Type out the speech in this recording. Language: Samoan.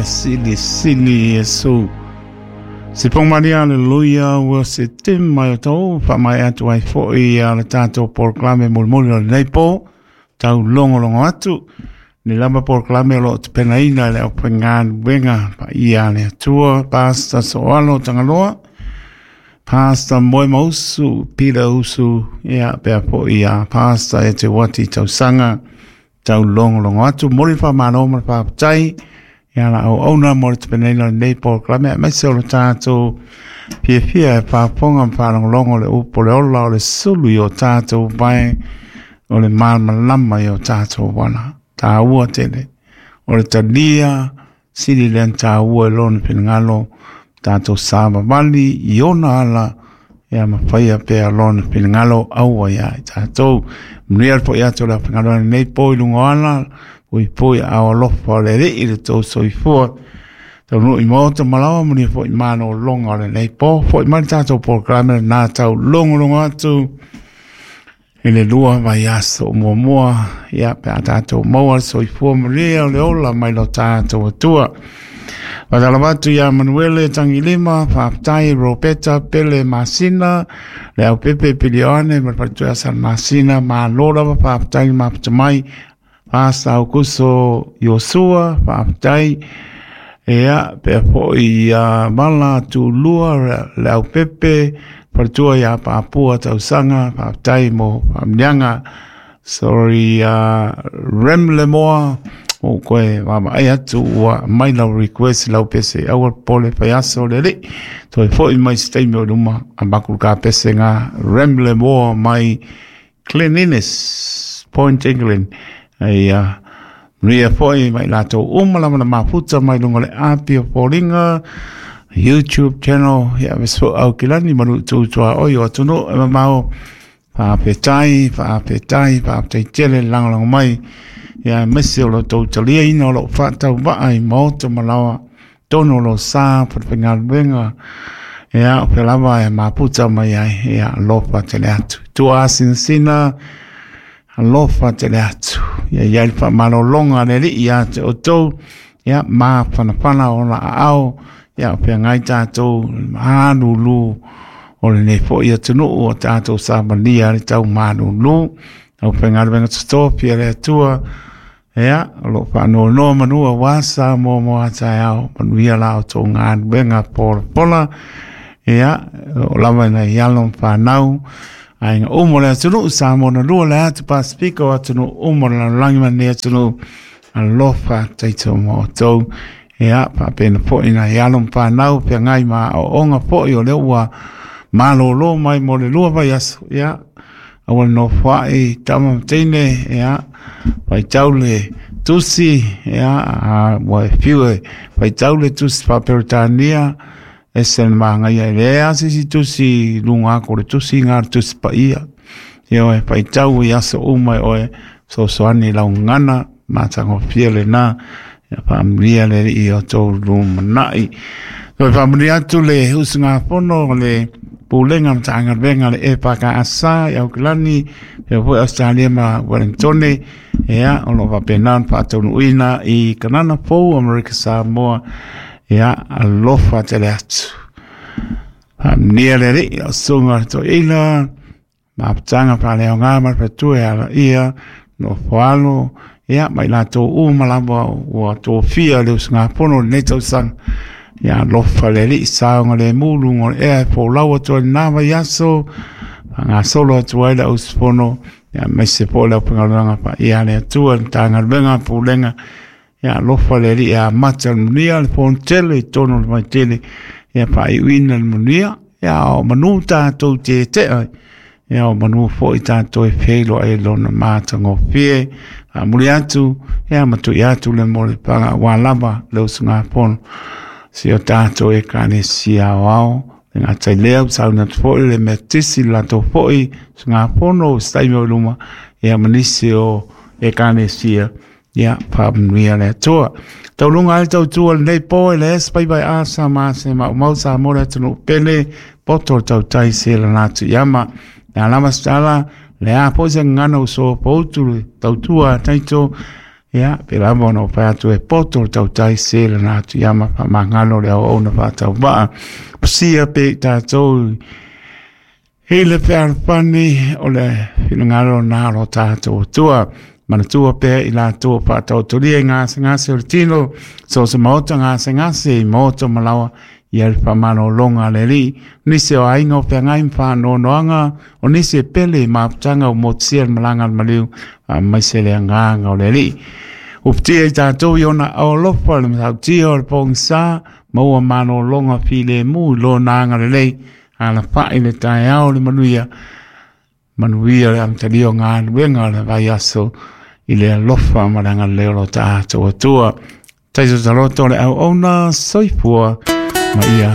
Mea silisili Iesu. Se pōmalia, aleluia, ua se te mai o tau, wha mai atu ai fo'i a le tātou polokalame mulimuli o lenei pō, tau logologo atu, ni lava polokalame o lo o tapenaina e le aufaigaluega paia a le Atua, Pastor Soalo Tagaloa, Pastor Moemausu, Peter Usu, ia pea fo'i a Pastor e te Wati Tausaga, tau logologo atu, momoli le faamalo ma le faafetai ia la auauna mo le tapenaina o lenei polokalame, aemaise o le tatou fiafia e faafofoga ma faalogologo le upu o le ola o le sulu i o tatou vae, o le malamalama i o tatou ala. Taua tele o le talia sili lea ona taua i lona finagalo, tatou savavali i ona ala, ia ma faia pea lona finagalo aua ia i tatou. Manuia le fo'i atu o le aufaigaluega lenei po i luga o ala, puipui aao alofa o le Alii i le tou soifua. Taunuu i maota ma laoa, manuia foi malologa o lenei po. Fo'i mai le tatou polokalame lena tau logologo atu i le lua vaiaso muamua, ia pe a tatou maua le soifua manuia o le ola mai lo tatou Atua. Faatalofa atu ia Manuele Tagilima, faafetai Roberta Pele Masina, le Aupepe Pilioane ma le faletua San Masina, malo lava faafetai le mafuta mai. Pasta Aukuso Iosua, faafetai. Ia, pea fo'i ia Mala Tulua, le Aupepe, faletua ia Papua Tausaga, faafetai mo faamanuiaga. Sorry, Rem Lemoa, ua ou toe vaavaai atu ua aumai lau request lau pese aua le popole faiaso le alii toe foi mai se taimi o i luma avatu le ta pese na Rem Lemoa mai Cleanliness Point England. Ia manuia foi ma i latou uma lava na mafuta mai luga o le api o foliga YouTube channel ia me so au kilani manu tu tua oi o atunuu e mamao. Faafetai, faafetai, faafetai tele le lagolago mai ia aemaise o lo outou taliaina o lou faatauvaa i maota ma laoa tonu o lo sa faigaluega ia o fea lava e maputa mai ai ia alofa tele atu. Tua asinasina alofa tele atu. Ia i ai le faamalologa a le Alii ia te outou ia mafanafana ona aao ia o feagai tatou malulu o lenei foi atunuu o tatou savalia le tau malulu. Aufaigaluega totofi a le Atua ia o lo o faanoanoa manu aua Samoa mo a taeao, manuia la outou galuega polapola ia o lava nai alo ma fanau aiga uma o le atunuu Samoa na lua le atu Pasifika o atunuu uma o le lalolagi ma lenei atunuu. Alofa taito ma outou ia faapena foi nai alo ma fanau feagai ma aoaoga foi o lea ua malolo mai mo le 2 vaiaso ia aua le nofoai tama ma teine ia faitau le tusi ia ua e fiu e faitau le tusi faa-Peretania ese le magaia e leai lava se isi tusi i luga atu o le tusi na le tusi paia. Ia oe faitau i aso uma e oe fesoasoani i lau gagana matagofie lena ia faamanuia le Alii i o outou lumanai. Toe faamanuia atu le usugafono o le Pulega Matagaluega le EFKS i Aukilani, faapea foi Ausetalia ma Ueligitone, ia o lo o faapena ona faataunuuina i Kanana Fou Amerika Samoa, ia alofa tele atu. Faamanuia le Alii, lau susuga i le toeaina, mafutaga faaleaoga ma le faletua e alaia, nofo alo, ia ma i latou uma lava ua tofia le usugafono i lenei tausaga. Ia alofa le Alii saogalemu luga o le ea e folau atu ai lena vaiaso, faagasolo atu ai le auusufono, ia aemaise foi le aufaigaluega paia a le Atua i le Matagaluega Pulega. Ia alofa le Alii e amata le manuia le fonotele i totonu o le vaitele, ia faaiuina le manuia, ia o manu tatou te tea ai, ia o manu foi tatou e feiloai i lona matagofie. Faamuli atu, ia ma tui atu le molefaga aua lava le usugafono si o tatou Ekalesia Aoao. E le gata i lea, ua sauni atu foi le Metotisi le latou foi usugafono i se taimi o i luma, ia ma nisi o Ekalesia. Ia, faamanuia le Atua. Tauluga ai le tautua i lenei po e le S5 A sa ma se maumau Samoa le atunuu pele, poto le tautai se lana atu iama. Le a lava se tala, le a foi se gagana ua sopoutu le tautua a Taito, Ia, pe lava ona ou fai atu e poto le tautai se lana atu ia ma faamagalo le auauna faatauvaa. Pasia pea i tatou i le fealofani o le finagalo na o lo tatou Atua. Manatua pea i latou o faataotolia i gasegase o le tino, so o se maota gasegase i maota ma laoa, ia le faamalologa a le Alii, nisi o aiga o feagai ma faanoanoaga, o nisi e pele i mafutaga ua motusia le malaga a le maliu, aemaise le agaga o le Alii. Uputia i tatou i ona alofa le matautia o le pogisa, maua malologa filemu i lona agalelei, alafai le taeao le manuia, manuia le amatalia o galuega o le vaiaso i le alofa ma le agalelei o lo tatou Atua. Taito taloto le auauna soifua ma ia.